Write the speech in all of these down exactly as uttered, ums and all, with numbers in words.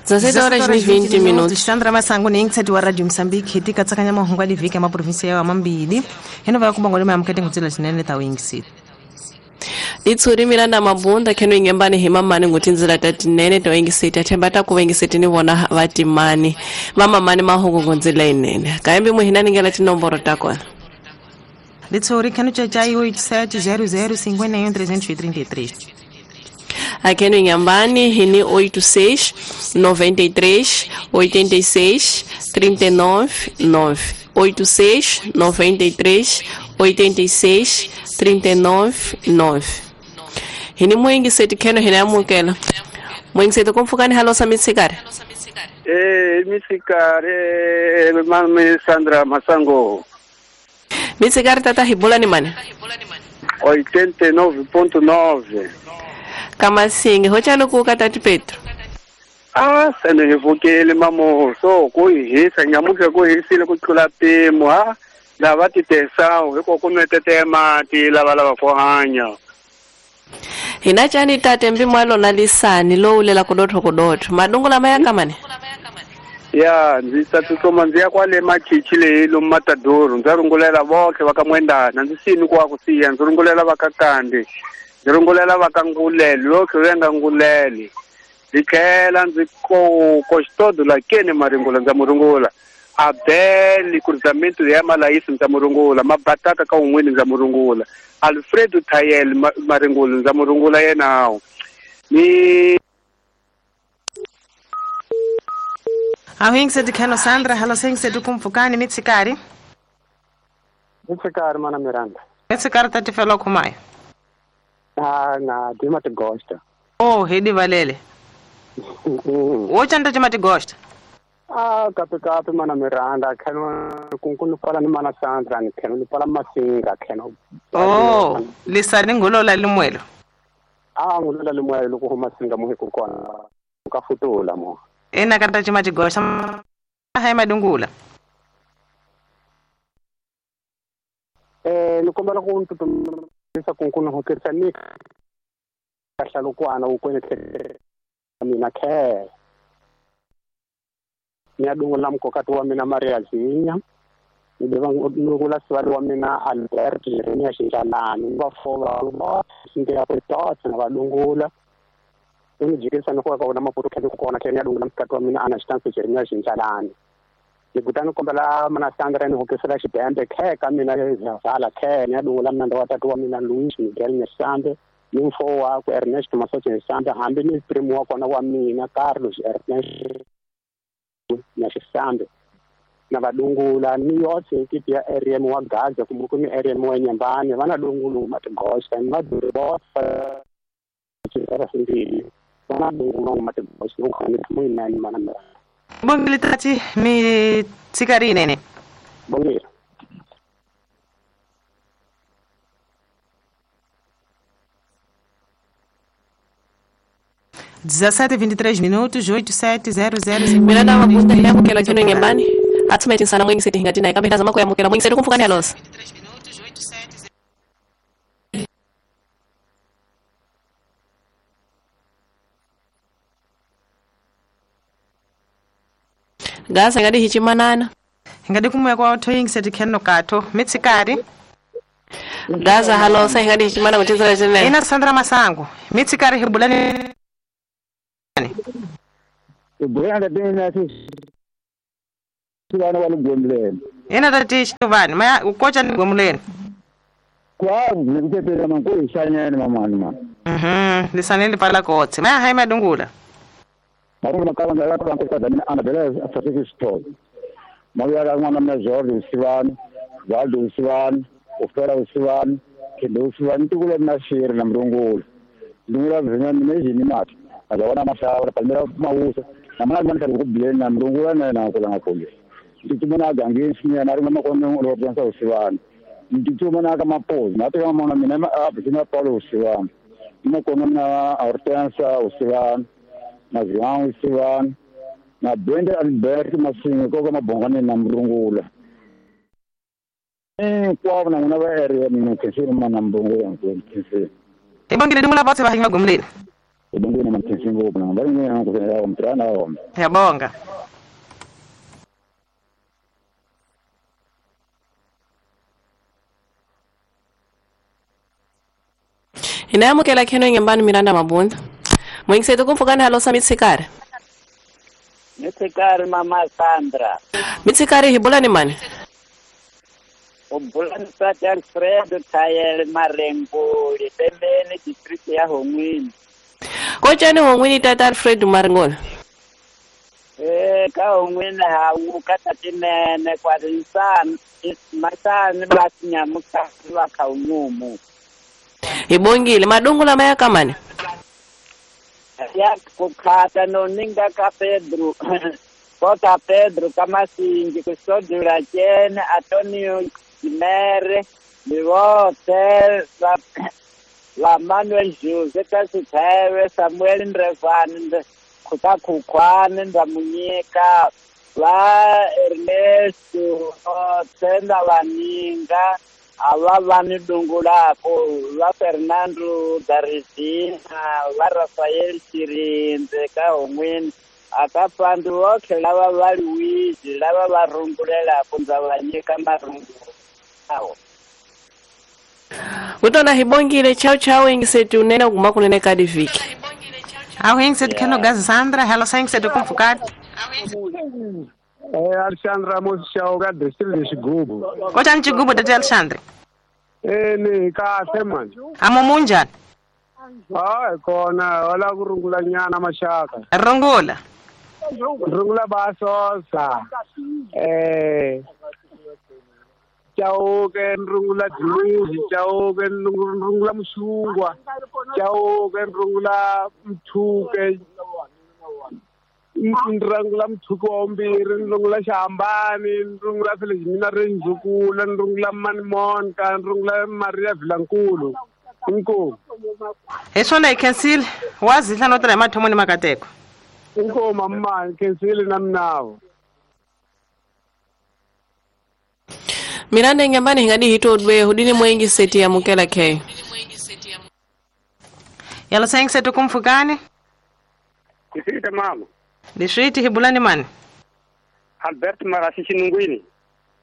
dezesete horas e vinte minutos. Sandra Masango ni inkseti wa Radio Mozambique tika tsakanya mahungu ali viki ya província ya Mambili. Heno va kumba ngolema amkete ngutsela chinene ta wingiseti. Litsuri Miranda Mabunda keno ingembani himamani ngutinzira tatinene to ingiseti athemba ta kuvengiseti ni vona vatimani vamamani mahungu ngunzila inene kaembi muhinani ngela tinomboro takona. Litsuri keno chachai oito sete zero zero cinquenta e um trezentos e trinta e três. Aqui no Inhambane, Rini oito seis, noventa e três, oitenta e seis, trinta e nove, nove. oito seis, noventa e três, oitenta e seis, trinta e nove, nove. Rini Moingi seti keno hina mukela. Moingi seti kumfukani halosa mitsikari. Eh, mitsikari, mami Sandra Masango. Mitsikari tata hibula ni mani? oitenta e nove ponto nove. Kamasingi, hochano kuka tati Petro. Ah, sene hivukele mamo, so kuhisa nyamuke kuhisile kuchula pimo ha. Lava titesao, hiko kunwetete mati lava lava kohanya. Hinachani tate mbimwalo na lisani lo ulela kudotho kudotho. Madungu la maya kamane? Ya, nzisa tutsoma nziya kwale machichi le lo matadoro, nzarungulela bonke bakamwendana, nzisini kwa kusiya, nzarungulela bakakande. Nzirungulela vakangulele lokho venga ngulele ndikhela ndzi ko kostodo la kene maringula ndza murungula abel cruzamento ya malaisi ndza murungula mabataka ka un'wini ndza murungula Alfredo Tayel maringula ndza murungula yenawo ni Ahingse dikhano Sandra halo singse dukumfukani mitsikari Mitsikari mana Miranda Mitsikari tatifelo khumaya. Ah, na dima te gosta. Oh, hedi valele. Wocha ndo te gosta. Ah, kapi kapi mana Miranda, kheno kunkunu pala ni mana Sandra ni kheno ni pala masinga kheno. Oh, lisani ngulola limwelo. Ah, ngulola limwelo ku masinga muhi kukona. Ka futula mo. Ena kata chima te gosta. Hai madungula. Eh, nikombela ku ntutu sa kunkunu hoketsa ni kahlalukwana ukwene mina khe ngiyadungula mkokati wa mina Maria Zinya ngibeka ngikula sibali wa mina Albert Jeremia Shinjalani bafola ba sinke apetotsa nabadungula ngijikisa nokwa kona maputo khe kona khe ngiyadungula mkokati wa mina Anastasia Jeremia Shinjalani ngikutana kombela mana Sandra ni hokesela xibembe khe ka mina zavala khe ngiyadungula mina watatu wa mina Luis Miguel Nyesambe ni mfo wakwe Ernest Masoche Nyesambe hambi ni primo wa kona wa mina Carlos Ernest Nyesambe na vadungula ni yotse ekipi ya R M wa Gaza kumbe ni R M wa Nyambane vana dungulu matigosta ni vaduribotsa vana dungulu matigosta ni khani mana mana Bongile tati mi tsikari nene. Bongile. dezessete e vinte e três minutos, oito sete zero zero cinco. Miranda Mabunda yamukela kino ngembani. Atsumeti sana mwengi seti hingatina ikambe tazama kwa yamukela mwengi seti kumfukani alosa. Gasa ngadi hichimanana. Ngadi kumwe kwa otoying seti keno kato. Mitsikari. Gaza halo sa ngadi hichimana mutizara jene. Ina Sandra Masango. Mitsikari hibulani. Ibulani dena si sivana walugomleni. Ina tati shivani maya ukocha ni gomleni. Kwa ngikupela mangu ishanyana mama mama. Mhm, lisaneli pala kotse. Maya hai madungula. Marungu makaba ndala kwa nkosada mina Anabela Afasiki Store. Mawya la mwana mna Jordi Usivani, Valdo Usivani, Ofera Usivani, Kendo Usivani tukule na shiri na mrungula. Ndungula vinya nimeji ni mati. Azawana mashaura palmera mausa. Na mwana mwana kali na mrungula na na kula ngakule. Nditumana gangisi na narunga makono rojansa Usivani. Nditumana kama pose, na tena mwana mina abisina Paulo Usivani. Makono na Hortensa Usivani. Na João Usivani, na Brenda Alberto Masinga koko mabongane na mrungula. Eh kwa na nguna ba area mina kesini mana mrungula ngikesini. Ibongile dungula botse ba hinga gomleni. Ibongile mamkhensi ngopfu na va rin'we ku fela mtirana wa Ngiyabonga. Inayamukela kheno ngembani Miranda Mabunda. Mwingiseto kumpfukani halo sa mitsikari. Mitsikari mama Sandra. Mitsikari hi bula ni mani? U bula ni Tata Alfredo Thayele Marengoli, Pembeni district ya Hongwini. Kotjani Hongwini Tata Alfredo Marengoli? Eh ka Hongwini ha wu ka tatinene kwa rinsani masani ba tinyamuka va kha unyumu. Hi bongile madungu lama ya kamani? Ya kukhata no ninga ka Pedro kota Pedro kamasingi kusodula chene Antonio Kimere ni vote va va Manuel Jose ka Sithebe Samuel Ndrevani kuta Khukhwane Ndamunyika va Ernesto Tenda Vaninga ava va ni dungulako va Fernando Darizina va Rafael Chirindze ka Hongwini aka fandu votlhe lava va Luigi lava va rungulelako ndza va nyika marungulo awo. Utona hi bongile chao chao ingisetu nena kuma kunene ka diviki. Awu ingisetu kheno gazi Sandra hello sa ingisetu kumfukati. Eh Alexandre Ramos Chauga district de Xigubu. Kotani Xigubu tata Alexandre? Eh ni kahle manje. Amo munjani? Ah kona wala ku rungula nyana mashaka. Rungula. Rungula basosa. Eh Chauke rungula Dluzi, Chauke rungula Mshungwa, Chauke rungula Mthuke. Nrangula Mthuko wa mbirhi, nrungula Xihambani, nrungula Felizmina Renzukula, nrungula Manimonka, nrungula Maria Vilankulu. Inkomu. Hi swona hi khensile wa zihla no tirha hi mathomo ni makateko. Inkomu mamma hi khensile na minavo. Miranda ngembani hi nga di hi todwe hudini mwengi seti ya mukela ke. Yalo sa setu kumfukani? Kusita mama. Liswiti hi bula ni mani? Albert Marasi Chinungwini.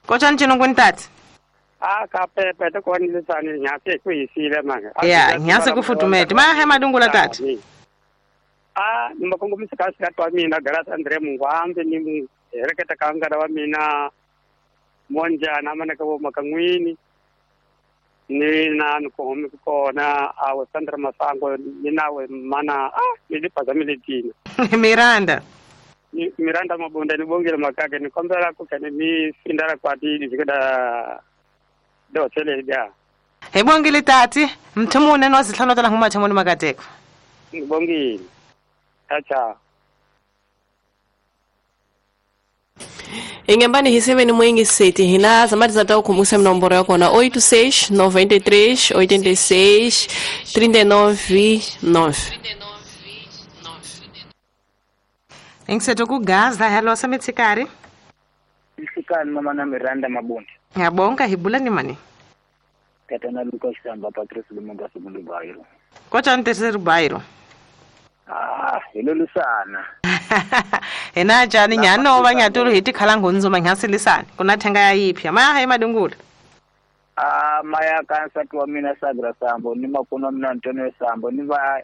Kotjani Chinungwini tati? Ah ka pepe to koni lisani nyase ku yisile manga. Ya, nyase ku futumete. Ma he madungula tati. Ah, ni makongomisa ka sika twa mina Galas Andre Mungwambe ni hereketa ka ngana wa mina Monjana mana ka bo makangwini. Ni na nkomi kona awe Sandra Masango ni nawe mana ah ni lipazamile tina. Miranda. Ni Miranda Mabunda ni bongile makake ni kombela ku kene mi sindara kwa di zikada do tele ja. Hi bongile tati mthumune no zihlano tala nguma thomoni makateko. Ni bongile. Acha. Ingembani hiseve ni mwingi seti hina zamati za tau kumusa mnomboro yako na oito seis, noventa e três, oitenta e seis, trinta e nove, nove. Ingiseto ku Gaza hello sa mitsikari. Mitsikari mama na Miranda Mabunda. Ngiyabonga hibula ni mani? Tata na Lucas Samba Patrice Lumumba segundo bairro. Kotjani terceiro bairro? Ah, hilolusana. Hina jani nyano va nyatulu hi tikhala ngunzuma nyasilisana kuna thenga ya yipya maya hi madungula. Ah maya kansa wa mina Sagra Sambo ni makona mina Antonio Sambo ni va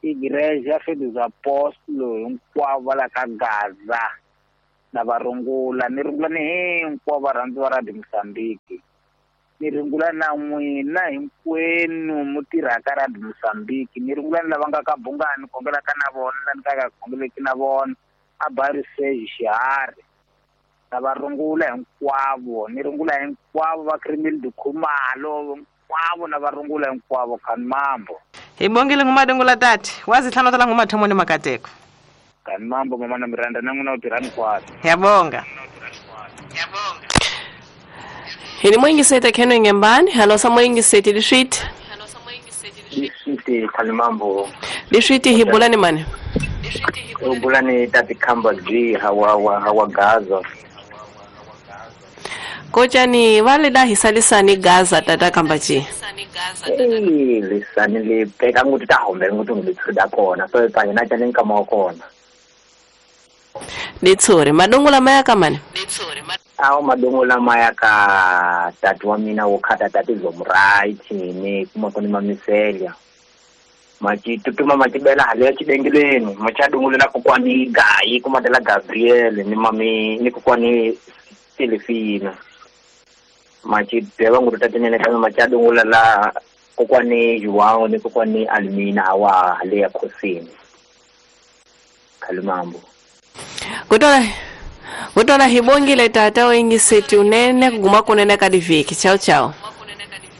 igreja Fé dos Apóstolos hinkwavo la ka Gaza na va rungula ni rungula ni hinkwavo varhandzi va Radio Mozambique ni rungula na n'wina hinkwenu mu tirhaka Radio Mozambique ni rungula ni lava nga ka Bungani khongelaka na vona la ni ka ka khongeleki na vona a Bairro Sage Xiharhi na va rungula hinkwavo ni rungula hinkwavo va Crimil Dukhumalo hinkwavo na va rungula hinkwavo khani mambo. Hi bongile ngumadungula tati wazihlano tala ngumathomo ni makateko. Khani mambo mama na Miranda na n'wina u tirha hinkwaswo. Ngiyabonga. Ngiyabonga. Hini mwingi sete kheno ngembani halo sa mwingi sete liswiti. Liswiti khani mambo. Liswiti hi bula ni mani? Ubula ni tati Khamba G hawa hawa Gaza. Kocani vale da hisalisani Gaza tata kambachi. Eh lisani le peka nguti ta hombe nguti ngithuda kona so ipanye na tshane nkama kona. Litsore madongo maya kamane. Awu madongo maya ka tatu wa mina wo khata tati zomright ni kuma koni mamiselia. Machitutuma machibela hali ya chidengeleni machadungulela kokwani Gayi kumatela Gabriel ni mami ni kokwani Silifina. Machibela ngurutatene kama machadungulela kokwani Joao ni kokwani Almina hawa hali ya Khosini. Kalimambo. Kutola kutola hibongile tata wengi seti unene kuguma kunene kadiviki. Ciao ciao.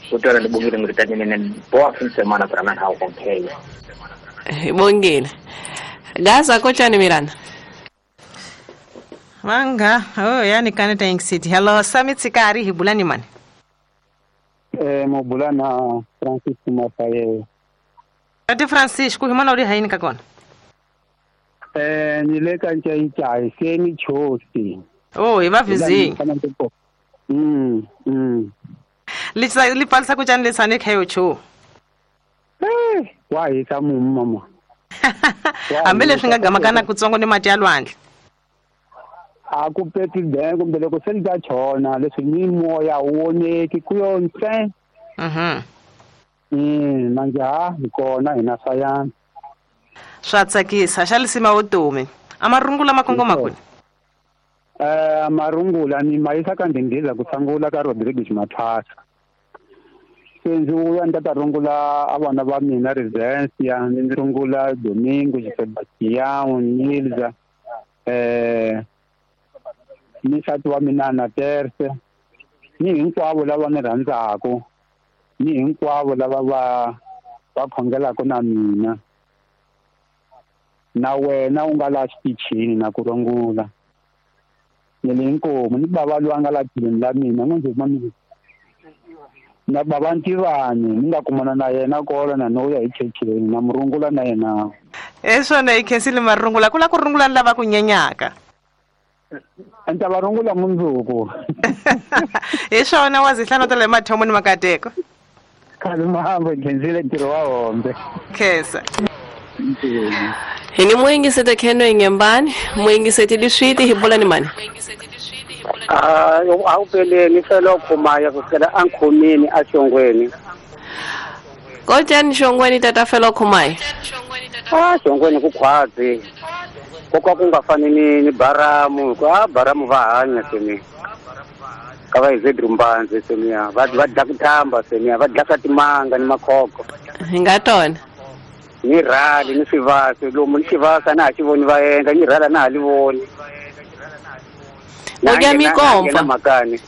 Kutola libongile ngurutatene boa fin semana para nana hao kompele. Hibongile. Gaza kocha ni Miranda. Manga, oh yani kana thanks city. Hello Sami Tsikari hibulani mani. Eh mobulana Francisco Mafaye. Ati Francisco himana uri haini kakona. Eh nileka nchayi seni chosi. Oh iba vizi. Mm mm. Lisa lipalsa kuchani lesane khayo cho. Eh wa hisa mama. Ambele swinga gama kana kutsongo ni mati ya lwandle. Akupeti den kumbe loko se li ta chona leswi ni moya wu voneki ku yo ntsena. Mhm. Mm manje ha hi kona hina sayana. Swa tsakisa xa lisima vutomi. Amarungula makongoma kuni. Eh amarungula ni mayisa ka ndingiza ku sangula ka Rodriguez Mathasa. Se ndzi vuya ni ta rungula a vana va mina Resensia, ni rungula Domingo, Sebastião, Nilza, eh ni nsati wa mina na Terse, ni hinkwavo lava ni rhandzaku, ni hinkwavo lava va va khongelaka na mina. Na wena u nga la xitichini na ku rungula. Ni le inkomu ni bava loyi a nga la tlhelweni la mina n'wi ndzi mami. Na bava Ntivani ni nga kumana na yena kona na no ya hi checheni na murungula na yena. Eswona i khensile marungula ku la ku rungula ni lava ku nyenyaka. Anta varungula mundzuku. Eswona wa zihlano ta le mathomo ni makateko. Kalimambo khensile ntirho wa hombe. Khesa. Hini mwingi sete keno ingembani, mwingi sete liswiti hibola ni mani. Ah, awupele ni felo khumaya kusukela ankhomeni ashongweni. Kotani shongweni tata felo khumaya. Ah, shongweni ku khwazi. Kokwa ku nga fani ni ni baramu, ka baramu va hanya semi. Ka va izedru mbanze semi, va va dla kuthamba semi, va dla timanga ni makhoko. Hi nga tona. Ni rali ni swivasa lomu ni xivasa na ha xi voni va endla ni rhala na ha li voni. Udya mikomfa makani.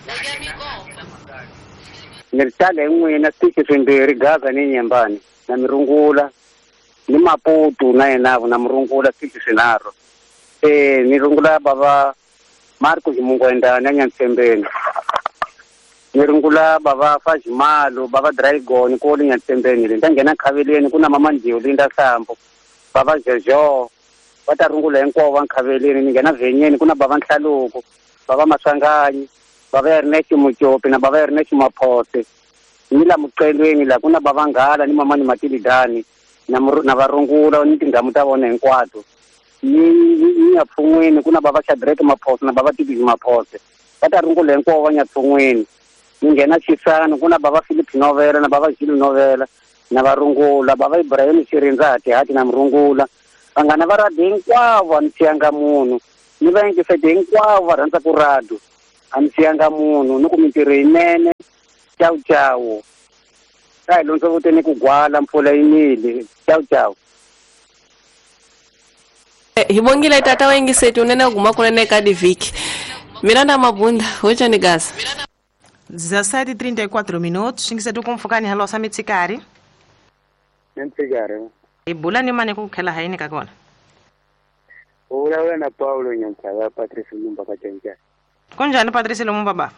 Ni ri tale n'wina switichi swimbirhi Gaza ni Nyembani na mirungula ni Maputo na yena na murungula switichi swinharhu. Eh ni rungula bava Marco Ximungwenda na Nyantsembeni. Ni rungula bava Fajimalo bava Dragon ko le Nyantsembeni le nda nghena Khaveleni ku na mama Ndiyo Linda Sambo bava Jojo va ta rungula hinkwavo va Nkhaveleni. Ni nghena Vhenyeni ku na bava Nhlaluko bava Maswanganyi bava Ernest Muchopi na bava Ernest Maphose. Ni la Muqelweni la ku na bava Nghala ni mama ni Matilidani na na varungula ni tindhamu ta vona hinkwato. Ni ni ya Pfungweni ku na bava Shadrack Maphose na bava Tibisi Maphose va ta rungula hinkwavo va Nyatsungweni. Ni nghena Xisano ku na bava Philip Novela na bava Gilles Novela na varungula bava Ibrahim Xirindza Hatihati na murungula. Vanghana va radio hinkwavo a ni siyanga munhu ni va yingiseti hinkwavo va rhandza ku radio a ni siyanga munhu ni ku mintirho yinene. Ciao ciao. Ka hi londzo vuteni ku gwala mpfula yi nile. Ciao ciao. Hibongile tata wengiseti unene guma kunene ka diviki. Miranda Mabunda, hoje ni Gaza. dezessete e trinta e quatro minutos, xingisetu kumfukani halo sa mitsikari. Mitsikari. Ibula ni mane ku khela haini ka kona. Ula na Paulo Nyantsava Patrice Lumumba ka Tsentsha. Kunjani Patrice Lumumba ba?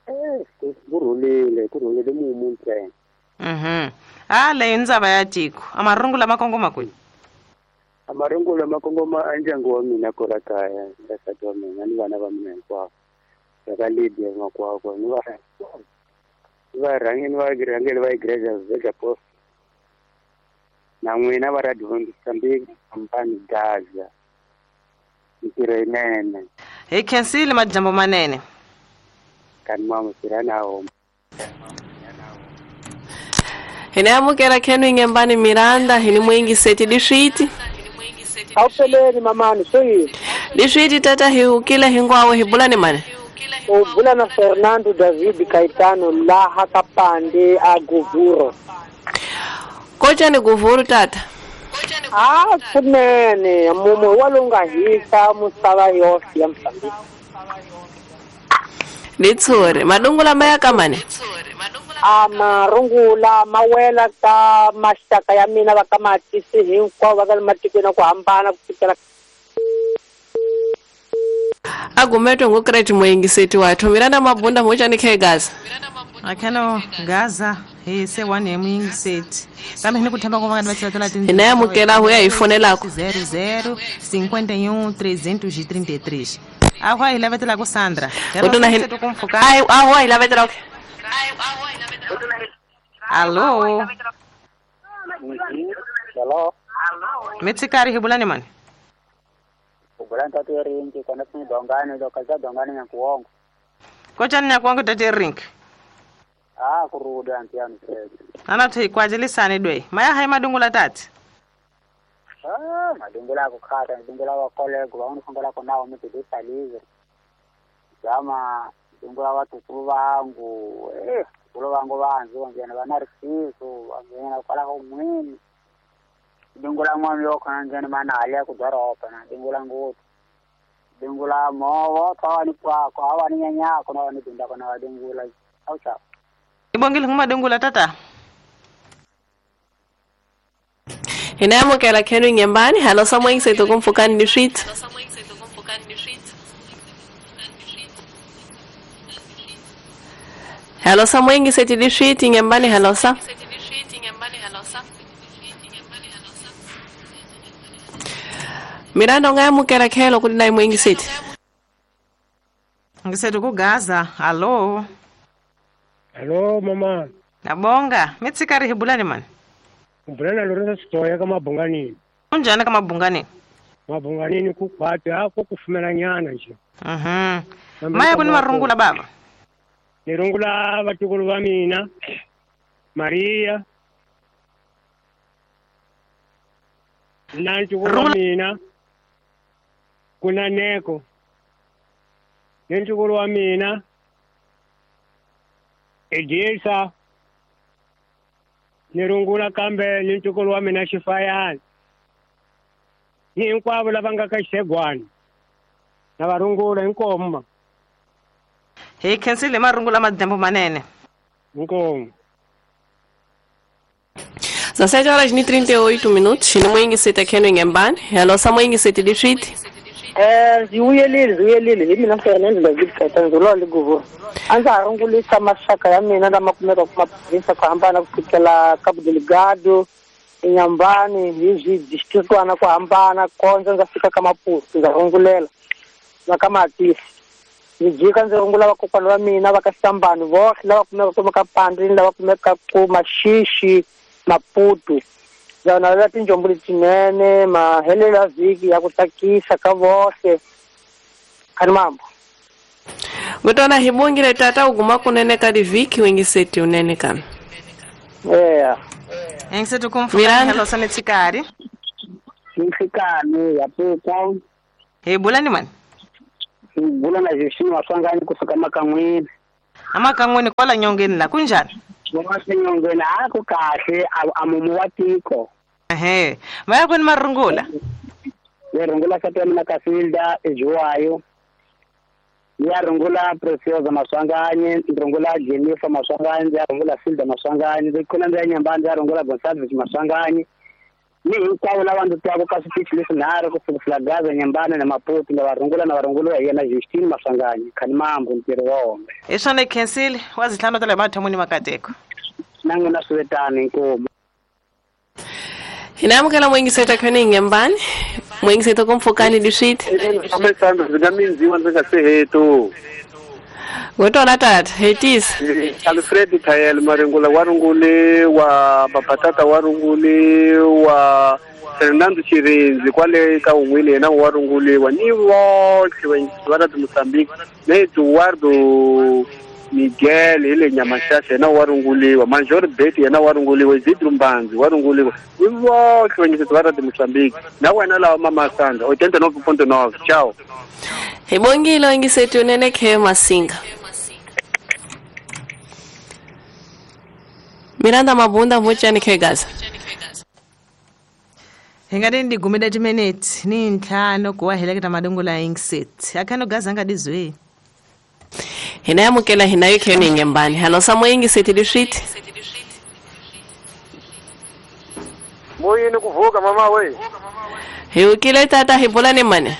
Eh, kurhulile, kurhulile mumu ntsena. Mhm. Ah, le ndzaba ya tiko. Amarungula makongoma kwihi? Amarungula makongoma a ndyangu wa mina kwala kaya, nsati wa mina ni vana va mina hinkwavo. Ka Lydia Makwakwa ni va va rhangeni va rhangeni va igreja veka post na n'wina va Radio Mozambique company Gaza ntirho yinene hi khensile majambo manene kani mama sirana hina amukela Kenwi Ngembani Miranda hini mwingi seti diswiti awupeleni mamani soyini diswiti tata hiukile hingwawe hibulani mane ubula na Fernando David Caetano laha kapande a Govuro kocha ni Govuro tata ah kunene mumu walonga hisa musava yosi ya Mozambique litsore madungula maya kamane amarungula mawela ka maxaka ya mina va ka matisi hinkwavo va ka matikweni ku hambana ku fikela agumetwe ngukreti moyingiseti wathu Miranda Mabunda mochani khe Gaza akhano Gaza hi se one ya muyingiseti kambe hini kuthemba ku vangani va tlhela tin hina yamukela huya hi fonelako zero zero cinquenta e um trezentos e trinta e três ahwa hi lavetela ku Sandra ai ahwa hi lavetela Alô Alô Metsikari hibulani mani Ubulani tatu rinki kona sini dongani do kaza dongani nyakuongo Kochani nyakuongo tatu rinki Ah kuruda antiano Ana thi kwajilisane dwe maya hai madungula tati Ah madungula kukhata madungula wa kolego wa unifungula kona wa mutidisalize Jama dungula watukulu vangu eh kulo vangu vanzi vanjena vana risiso vanjena kwala kumwini dungula mwami yokhona njena mana hali ku doroba na dungula ngutu dungula movo thawani kwako awani nyanyako na wani dunda kona wa dungula aucha Ibongile nguma dungula tata Hinamukela Kenwi Ngembani halo samwe ngisethu kumfukani ni street Hello sa mwengi seti dishiti ngembani hello sa Miranda ungayamukela khelo kuti nayi mwengi seti Ngisethu ku Gaza allo Hello mama Nabonga mitsikari hibulani mani Ubulana Lorenzo Sitoya ka Mabunganini Unjani ka Mabunganini Mabunganini ku khwati ako kufumela nyana nje Mhm Maya kuni marungula baba Nirungula vatukulu va mina Maria na ntukulu wa mina kuna Neko ni ntukulu wa mina Edilsa nirungula kambe ni ntukulu wa mina Xifayani ni hinkwavo lava nga ka Xegwani na varungula hinkomo Hi khensile marungula madyambu manene Inkomo Dezessete horas e trinta e oito minutos ni mwingi sete Kenwi Ngembani hello sa mwingi sete dishiti Eh ziuyelile ziuyelile hi mina Fernando David Caetano lo le Govuro a ndza ha rungulisa maxaka ya mina lama kumeka ku maprovinsa ku hambana ku fikela Cabo Delgado Inhambane hi swidistrictwana ku hambana kondza ndza fika ka Maputo ndza rungulela na ka Matisi ndzi jika ndzi rungula vakokwana va mina va ka Sambani vohle lava kumekaka ku ka Pandini lava kumekaka ku Maxixi Maputo ndza navela tinjombo letinene mahelelo ya vhiki ya ku tsakisa ka vohle khani mambo Ngutona hibongile tata uguma kunene ka divhiki wengiseti unene kami Yeah Engisethu kumfukani hello sa mitsikari Nhlikani ya poko Hibulani mani Bula na Justine Maswanganyi kusuka Makan'wini Amakan'wini kwala nyongeni la kunjani Nyongeni a ku kahle a mumu wa tiko Ehe maya kuni marungula Ni rungula nsati wa mina Kasilda eJuwayo Ni ya rungula Preciosa Maswanganyi ni rungula Jennifer Maswanganyi ni ya rungula Silda Maswanganyi ndzi khona ndzi ya Nyambani ndzi ya rungula Gonsalves Maswanganyi ni hinkwavo lava ndzi twaka ka switichi leswinharhu ku sukisela Gaza Nyambani na Maputo na varungula na varunguliwa hi yena Justine Maswanganyi khani mambo ntirho wa hombe Hi swona hi khensile wa zitlhanu ta le mathomoni makateko Na n'wina swivetani inkomu Hina amukela mwingiseta Kenwi Ngembani mwingiseta kumfukani dishiti Ndzi nga mindziwa ndzi nga se heto Ngotona tata hetisa Alfred Thayel Maringula wa rungule wa Babatata wa rungule wa Fernando Chirinzi kwale ka un'wini yena wa runguliwa ni votlhe va ra Mozambique na Eduardo Miguel hi le Nyamashasha yena wa runguliwa Major Bet yena wa runguliwa Isidro Mbanzi wa runguliwa ni votlhe vanyiseti va ra Mozambique na wena lawa mama Sandra ochenta e nove ponto nove ciao. Hi bongile yingiseti unene khe Masinga. Miranda Mabunda vochani khe Gaza. Hi nga ndi gumile timinete ni ntlhanu ku wa heleketa madungula yingiseti akhano Gaza nga dizwe. Hina yamukela hina yo kheni ngembani halo samo yingiseti liswiti. Moyini kuvuka mama we. Hi ukile tata hi bula ni mani?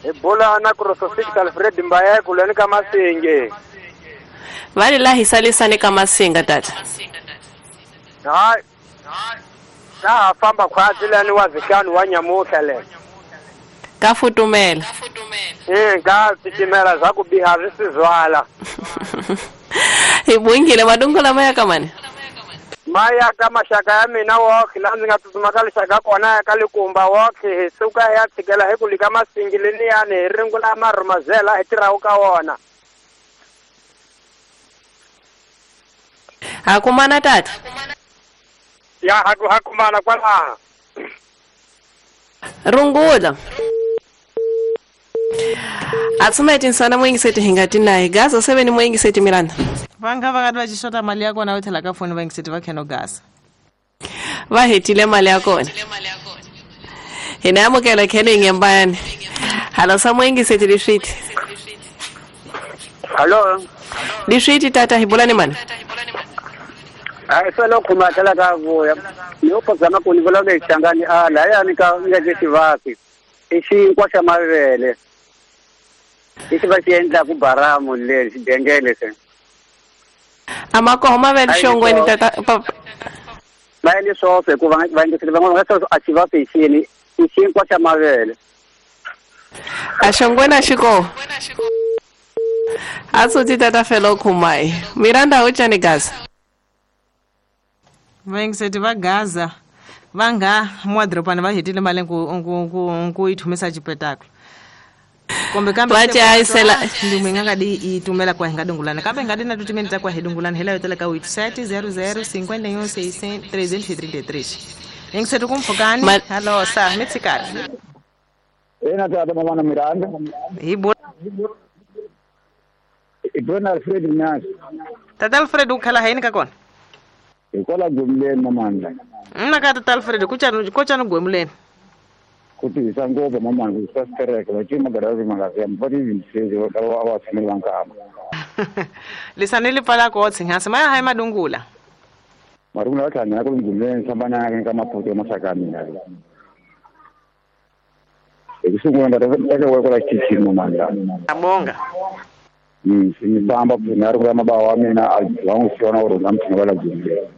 Hi bula na Krosofik Alfred Mbaye kuleni ka Masinge. Vali la hisalisane ka Masinga tata. Hayi. Ta famba khwatsi lani wa zihlanu wa nyamuhla le. Ka futumela. Eh ka titimela za ku biha ri sizwala. Hi bongile madungula maya ka mani? Maya ka maxaka ya mina wokhe la ndzi nga tsutsuma ka lixaka kona ya ka Likumba wokhe hi suka hi ya tshikela hi ku lika Masingi leniyani hi ringula marhumazela hi tirhaku ka wona. Ha kumana tata? Ya ha ku ha kumana kwalaha. Rungula. Atsumeti nsana mwingiseti hingati naye Gaza seven mwingiseti Miranda. Vanga vakati vachishota mali yako na uthela ka foni vangiseti va kheno Gaza. Va hetile mali ya kona. Hina amukela khene ngembani. Halo sa mwingiseti liswiti. Halo. Liswiti tata hibulani mani? Ai solo khuma thala ka vuya. Ni uphazama ku ni vulavula hi Xangani a lahayani ka nga xivasi. I xinkwa xa mavele. Lexi va xi endlaku baramu le xidengele se. Amakoho mavele xongweni tata papa. Va endle swoxe hikuva va endlekile van'wana va nga a xivasi hi xini i xinkwa xa mavele. A xongweni a xi koho. A tsotsi tata felo khumai. Miranda uchani Gaza. Vangiseti va Gaza va nga muadropani va hetile mali ku ku ku ku yi thumisa xipetaklo. Kumbe kambe va chayisela ndume nga nga di yi tumela kwa hi nga dungulana kambe nga di na timinete ta kwa hi dungulana hi la yo tela ka website zero zero cinquenta e um seiscentos trezentos e trinta e três. Yingiseti ku mpfhukani halo sa mi tshikani. Ena tata mama na Miranda. Hi bula I bula Alfred Mnyasi. Tata Alfred u khala hayini ka kona? Hikwalaho gwemuleni mamandla. Mna ka tata Alfred ku chani ko chani gwemuleni. Ku tihisa ngopfu mamandla ku swa stereke va cima garazi mangazi va ti yingiseli va va va tshameli va nkama. Lisani li pfala ko tshinhasi maya hayi madungula. Marungula va tlhangana ku gwemuleni sambana ka maputo ya maxaka ya mina. Hi ku sungula nga ta teka wa kwala xitichini mamandla. Abonga. Mm, ni famba na ri ku mabawa wa mina a va n'wi siona uri na mthina va la gwemuleni.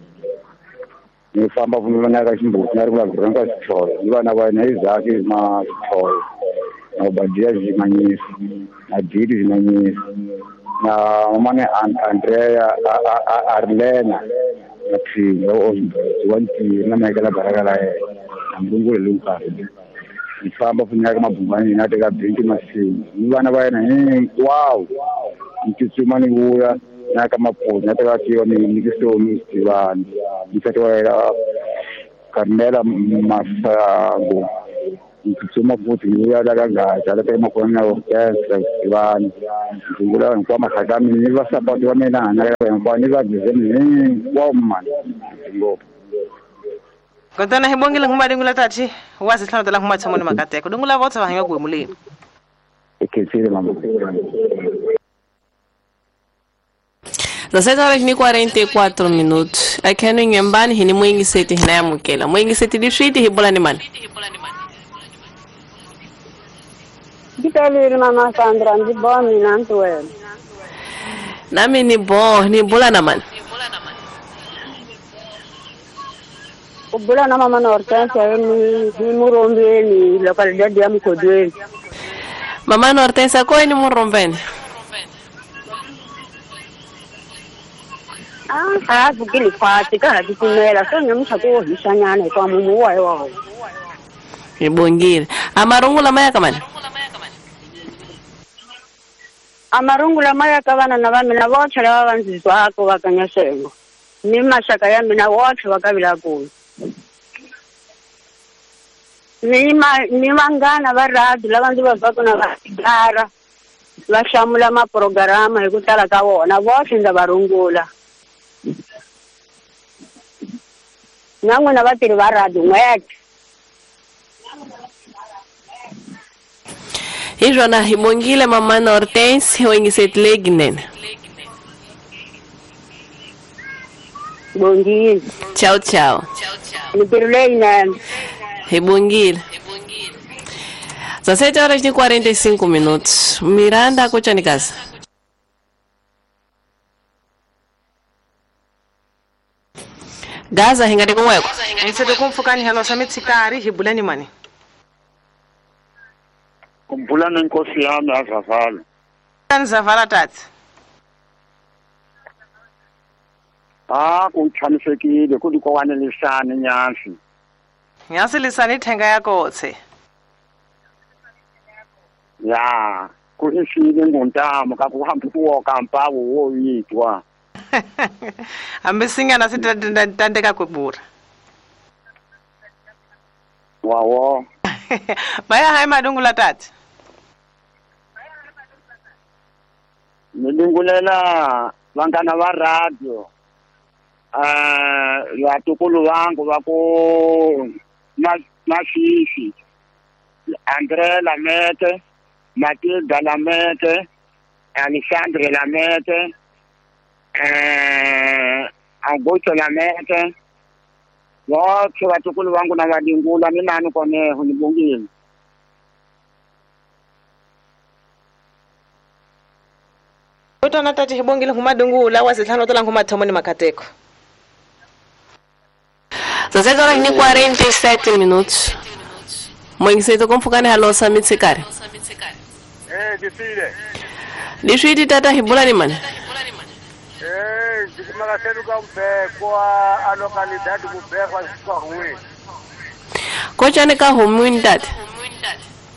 Ni famba vunula na ka ximbuti na ri ku la ka xitholo ni vana va yena Isaac ma xitholo na Obadia Zimanyisi na Didi Zimanyisi na mamane Andrea Arlena na Philo wa Ntiri na Michael Baraka la yena na Mlungule Lunkari. Ni famba vunula ka mabungani na teka benki Masinga ni vana va yena hinkwavo ni tsutsuma ni vuya na ka maputo na teka tiwa ni nyikisoni Sivani nsati wa yena Carmela Masango ni tsutsuma futhi ni vuya la ka Gaza la teka makona na Orchestra Sivani ndzi hinkwavo maxaka ya mina ni vasapoti va mina na hinkwavo ni va dizeni hinkwavo mani ngopfu. Kontana hi bongile nguma dingula tati wa sihlanu tala nguma tshamoni makateko dungula votsa va hanya gwemuleni. Ekhetsile mama. dezesseis horas e quarenta e quatro minutos. Aqui no Inhambane, hini mwingiseti hina yamukela. Mwingiseti liswiti hibola ni mani? Ndikalile mama Sandra, ndi bo mina ntuwena. Nami ni bo, ni bula na mani? Ubula na mama na Hortensia ni ni murombeni, localidade ya Mkodweni. Mama na Hortensia, ko ni murombeni? A pfukile khwatsi ka ha titimela se namuntlha ku hisanyana hikuva mumu wa hi wa Hi bongile. A marungula ma ya ka mani? A marungula ma ya ka vana na va mina votlhe lava va ndzi twaka va ka Nyasengo ni maxaka ya mina votlhe va ka Vilakulu ni ma ni vanghana va radio lava ndzi va twaka na va gara va hlamula maprograma hi ku tala ka vona votlhe ndza va rungula na n'wina vatirhi va radio n'wete. Hi swona hi bongile mamana Hortense wengisetle ginene. Bongile. Tchau, tchau. Mintirho leyinene. Hi bongile. dezessete horas e quarenta e cinco minutos. Miranda Kochanikasa. Gaza hingati kumweko. Nseto kumfukani helo samitsikari hibulani mani. Kumbulana nkosi yami azavala. Nzavala tata. Ah, kuchanisekile kudikwanelisana nyansi. Nyansi lisani thenga yakotse. Ya, kuhishile ngontamo kakuhamba kuwoka mpawo woyitwa. Hambi singana sitandeka kwebura. Wawo. Baya hai madungula tata. Nilungulela vangana va radio. Eh, vatukulu vangu va ku Masisi, André Lamete, Matilda Lamete, Alexandre Lamete, eh, Augusto Lamete. Wote vatukulu vangu na vadingula ni nani koneho nibongile. Utona tati hibongile humadungula wasihlanu tola ngumathomo ni makateko. dezessete horas e quarenta e sete minutos. Mwengiseto kumfukani halo samitsikari. Eh, disile. Liswiti tata hibula ni mani. Eh, ndikumakasetu ka mbekwa a localidade kubekwa kwa Kochani ka humwini tata.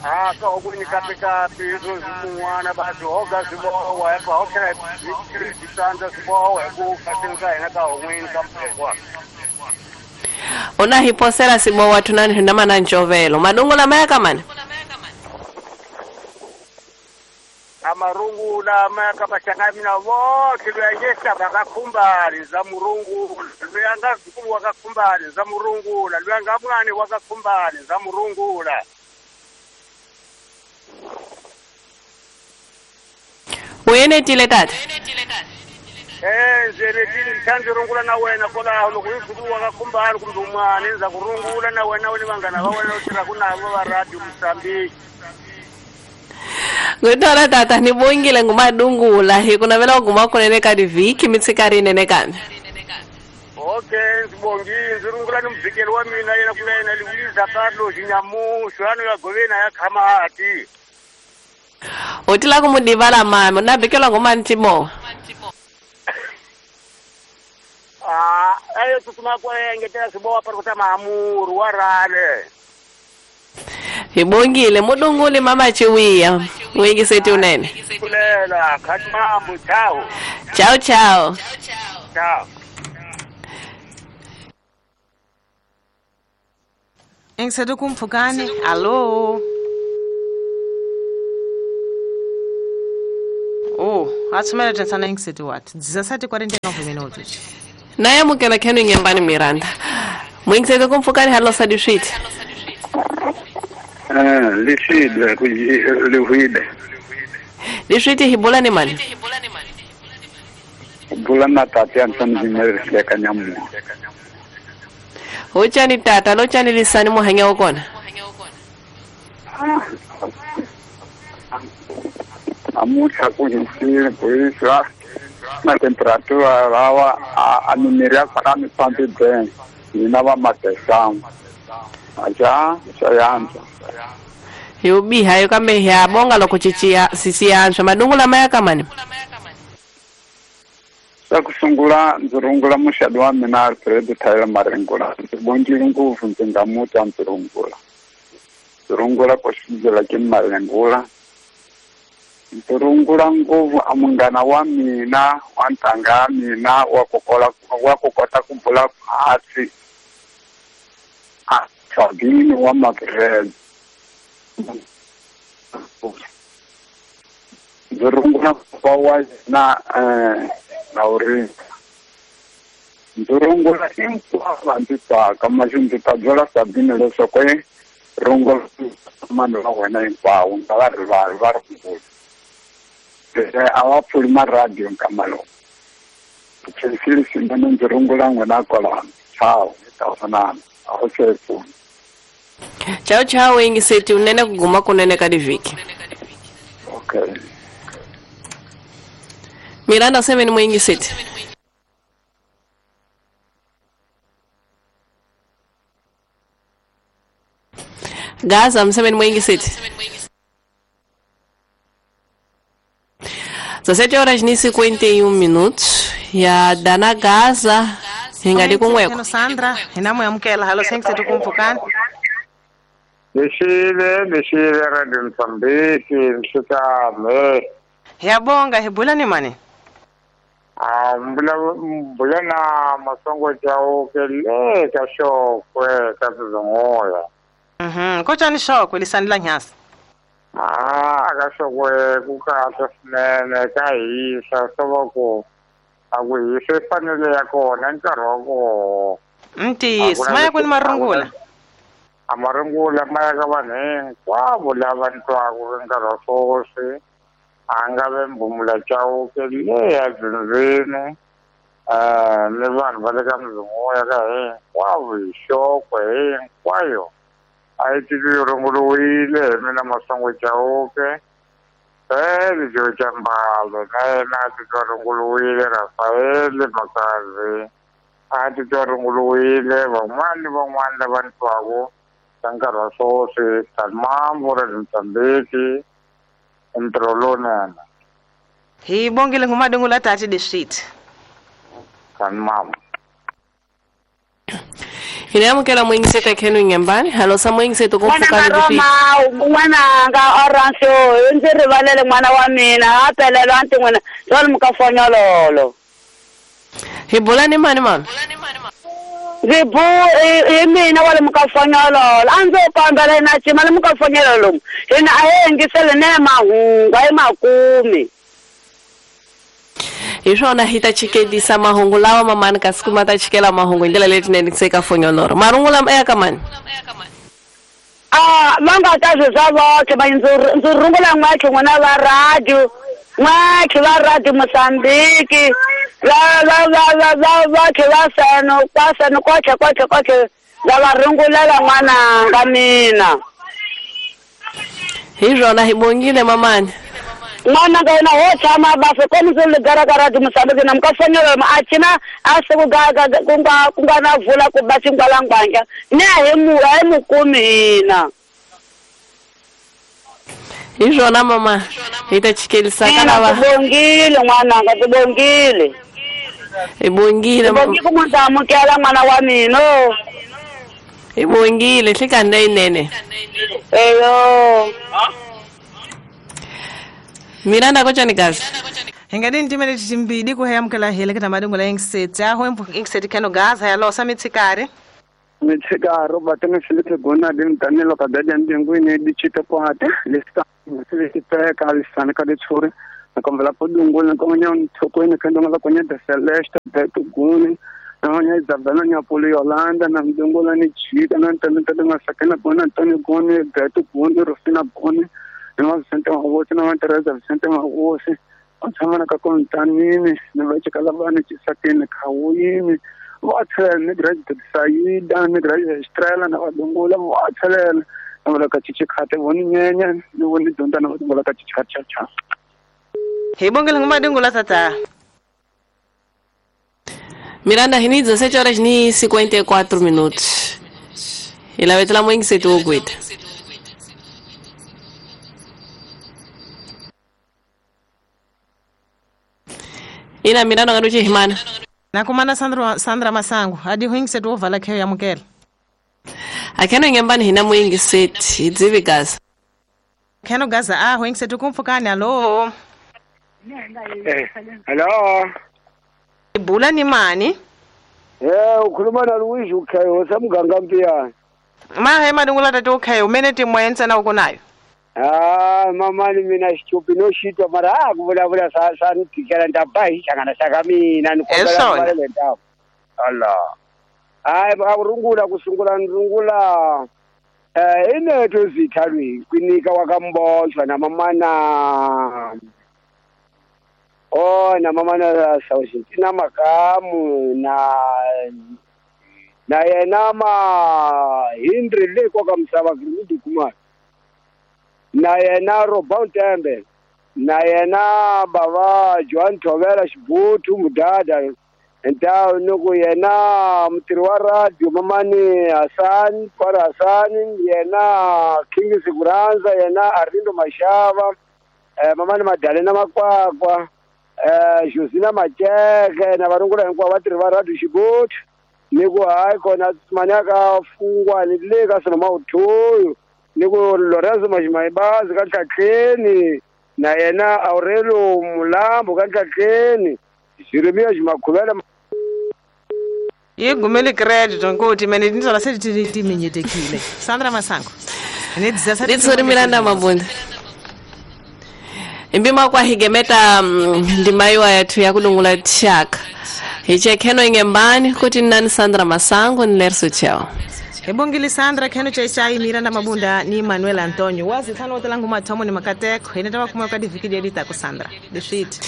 Ah, ka hukuni kapi kapi hizo zimunwana basi hoga zibowa epa hokela zitanza zibowa ku katinga ina ka humwini ka mbekwa. Ona hiposela sibowa tunani hindama na nchovelo. Madungula maya kamani? Amarungula maya kapashaka mina wote luyanyesa bakakumbali za murungu luyanga zukulu wakakumbali za murungula luyanga mwana wakakumbali za murungula. Uyenetile tata? Eh, njenetile ngithandirungula na wena kola lokuyizukulu wakakumbali kumbe umwana nza kurungula na wena wena bangana ba wena uthira kunabo ba radio Mozambique. Ngitola tata nibongile ngumadungula hikunavela uguma kunene ka diviki mitsikari nene kami. Okay, ngibongile nzirungula nomvikeli wa mina yena kuyena Luisa Carlos Nyamusho ano yagovena yakhamati. Utila kumudivala mama nabikelwa ngumantimo. Ah, ayo tutuma kwa engetela sibowa para kutama amuru warale. Hibongile mudungule mama chiwiya wengisethi unene. Kulela khatimambu chao. Chao chao. Chao. Engiseto kumfukani. Allo. Oh, atsumela tensana engiseto what? dezessete e quarenta e nove minutos. Naye mukela khenu ngembani Miranda. Mwengiseto kumfukani halo sadishit. Ah, lishidwe lihwide. Lishwiti hibula ni mani? Hibula na tati Anton Jimmer kanyamu. Uchani tata, lochani lisani muhanya okona. Amucha kuhisile kuiswa na temperatura lawa a numeria para mi pampi ben. Inava matesam. Aja, sayanza. Yubiha yukambe ya bonga lokuchichia sisi yanso madungula maya kamani. Xa ku sungula ndzi rungula muxadi wa mina Alfred Thayela Marengula. Ndzi bongile ngopfu ndzi nga mu twa ndzi rungula. Ndzi rungula ku xindzela ke Marengula. Ndzi rungula ngopfu a munghana wa mina wa ntanga ya mina wa ku kola wa ku kota ku bula hansi a Sabini wa Magrez. Ndzi rungula papa wa yena um Laurinda. Ndzi rungula hinkwavo ndzi twaka maxi ndzi ta byela Sabini leswaku i rungula mani va wena hinkwavo nga va rivali va rungula. A va pfuli maradiyo nkama lowu. Khensile swinene ndzi rungula n'wina kwalano. Ciao, hi ta vonana. A wu se pfuna. Ciao ciao yingiseti unene ku guma kunene ka divhiki. Okay. Miranda semeni muyingiseti. Gaza msemeni muyingiseti. dezessete horas e cinquenta e um minutos. Ya dana Gaza hingali kunweko. Sandra, hina amukela halo sengisetu kumpfukani. Lexile lexile Radio Mozambique nhlekani. Hiyabonga hi bula ni mani? Ah mbula mbula na Masongo Chauke le ka Xokwe ka Sizunguya. Mhm, kotani Xokwe lisani la nyasa. Ah ka Xokwe ku kahle swinene ka hisa swo va ku a ku hisa fanele ya kona nkarhi wa kona. Ntiyiso maya kwini marungula? A marungula maya ka vanhu hinkwavo lava ni twaku nkarhi wa sweswi. A nga ve Mbumula Chauke le ya Dzindzini um ni vanhu va le ka Mzunguya ka hinkwavo hi Xokwe hinkwayo a yi titwi yi runguriwile hi mina Masongo Chauke. Feli Joe Chambalo na yena a titwa runguriwile, Rafael Makazi a titwa runguriwile, van'wana ni van'wana lava ni twaku ka nkarhi wa sweswi Talmambo Radio Mozambique ntirho lowunene. Hi bongile ngumadungula tati district. Talmambo. Hina amukela mwingiseta khenu nyambani. Halo sa mwingiseto kumpfuka Roma n'wananga Orange ndzi rivalele n'wana wa mina a pelelo a ntin'wina jwale mukafonyololo. Hi bula ni mani mama? Ndzi bu hi mina wa le mukafonyololo a ndzi kombela na cima le mukafonyololo hina a hi yingisele ne mahungu a hi makumi. Hi swona hi ta chikelisa mahungu lawa mamani kasi kuma ta chikela mahungu hi ndlela letinene se ka fonyoloro. Marungula ya ka mani? Ah va nga ta swi swa voxe va ndzi ndzi rungula n'wakhe n'wina va radio n'wakhe va radio Mozambique va va va va va va va seno kwa seno koche koche koche va va rungulela n'wananga mina. Hi swona hi bongile mamani. N'wananga yena ho tshama bafe komu ndzi le gara ka Radio Mozambique na mukafonyololo a cina a se ku ga ku nga ku nga na vula ku ba xingwalangwanja ni a hi mu a hi mu kumi hina. Hi swona mama hi ta chikelisa ka lava. Tibongile n'wananga tibongile. Hi bongile mama. Tibongile ku ndzi amukela n'wana wa mina. Hi bongile hlekani leyinene. Eyo. Miranda kotjani kazi. Hingadini timele timbidi ku hayamukela hele ka madungula yingiseti aho ingiseti kheno gaza ya losa mitsikari. Mitsikari Robertino Felipe Gona din Danilo Kadadi ndingwini dichite kwate lista lisiteka lisana ka ditshuri nakombela podungula nkonya nthokweni khandonga konya de Celeste Beto Guni na Isabella Nyapoli Yolanda na ndungula ni chika na ntana ntana masakena bona Antonio Goni Beto Goni Rufina Goni na Vicente Mahosi na Teresa Vicente Mahosi va tshama na ka kontanini ni va chikala vana chisakeni khawini va tlhela ni graduate Saida ni graduate Estrella na vadungula va tlhela na vula ka chichikhate voni nyenya ni voni dyondza na vadungula ka chichachacha. Hi bongile ngumadungula tata. Miranda hini dezessete horas e cinquenta e quatro minutos. Hi lavetela mwingiseti wo gwita. Ina mina no nga himana. Na kumana Sandra Sandra Masango adi huingisetu ovala kheyo yamukela. Akheno ngembani hina muingiseti idzivi gaza. Kheno gaza a huingisetu kumfukani alo. Eh, hello. Ibula ni mani? Eh, ukhuluma na Luigi ukhayo samuganga mpiyana. Mahe madungula tatu ukhayo umene timwenza na ukonayo. Ah, mama ni mina xitupi no xitwa mara a ku vulavula sa sa ni tikela ni ta ba hi hlangana xa ka mina ni kombela ku le ndhawu. Allah. Hayi a rungula ku sungula ni rungula eh ineto zithalwi kwinika wa ka Mbochwa na mamana. Oh, na mamana Sausintina Makamu na na yena ma Hindri le kwa ka misava Gridi Kumar. Na yena Robert Tembe na yena baba Joan Tovela Xibutu Mudada nta nuku yena mutirhi wa radio mamani Hassan Kwara Hassan yena King Siguranza yena Arindo Mashava eh, mamani Madalena Makwakwa eh, Josina Macheke na varungula hinkwavo vatirhi va radio Xibutu ni ku hayi kona manyaka fungwa ni le ka swilo mawuthuyu ni ku Lorenzo Majimayibazi ka Ntlhatlheni na yena Aurelio Mulambo ka Ntlhatlheni Jeremia Jimakhuvela yi gumele credit nkuti mene tinzola se timinyetekile Sandra Masango ne ditsori Miranda Mabunda imbima kwa higemeta ndimaiwa yathu ya kulungula tshaka hiche kheno ingembani kuti nani Sandra Masango ni Lerso Chao. Ebongile Sandra kheno chai Miranda Mabunda ni Manuel Antonio wazi thano otelangu mathomo ni makateko ine tava kumwe ka diviki diedita ku Sandra dishit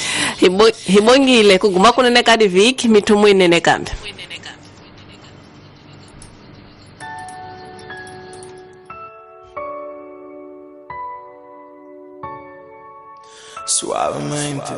hibongile kuguma kunene ka diviki mithumu inene kambe. Suavemente.